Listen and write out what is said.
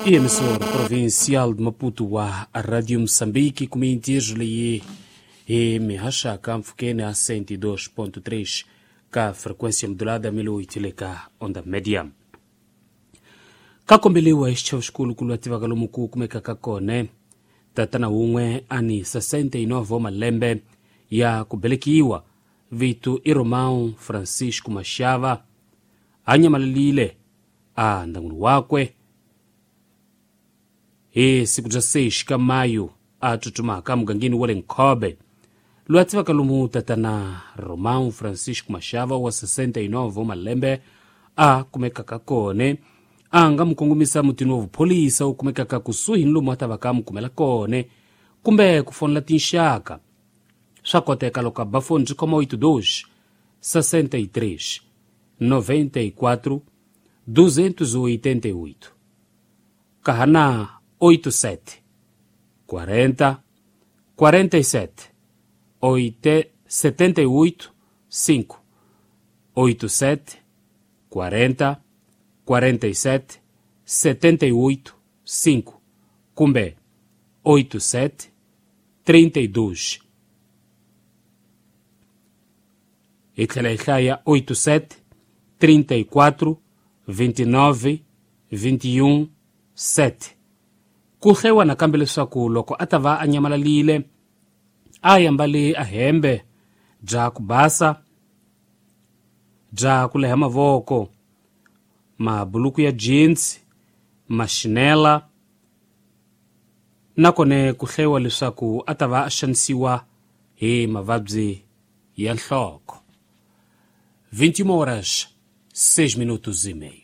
I emissora provincial de Maputo wa Radio Moçambique kumintizo leyi hi mihaxaka mpfhukeni a 102.3 ka frequência modulada 1008 le ka onda média. Ka kombeliwa hi xichavo xikulu ku lwa tivaka lomu ku kumekaka kona tatana wun'we a ni 69 wa malembe ya ku velekiwa, vito i Romão Francisco Mashava, a nyamalelile a ndyangwini wakwe hi siku bya 6 ka mayu a tsutsumaka mugangeni wa le Nkhobe. Loyi a tivaka lomu tatana Romão Francisco Mashava wa 69 wa malembe a kumekaka kona, a nga mu kongomisa mutini wa vupholisa wu kumekaka kusuhi ni lomu a ta va ka mu kumela kona, kumbe ku fonela tinxaka. Swa koteka loko a ba foni byi khoma 82 63 94 288 kahana 87 40 47 8 78 5 87 40 47 78 5 kumbe 87 32. Hi tlhela hi hlaya 87 34 29 21 7. Ku hlayiwa nakambe leswaku loko a ta va a nyamalalile a yambale a hembe bya ku basa, bya ku leha mavoko, mabuluku ya jeans, maxinela, nakone ku hlayiwa leswaku a ta va a xanisiwa hi mavabyi ya nhloko. 21 horas 6 minutos e meio.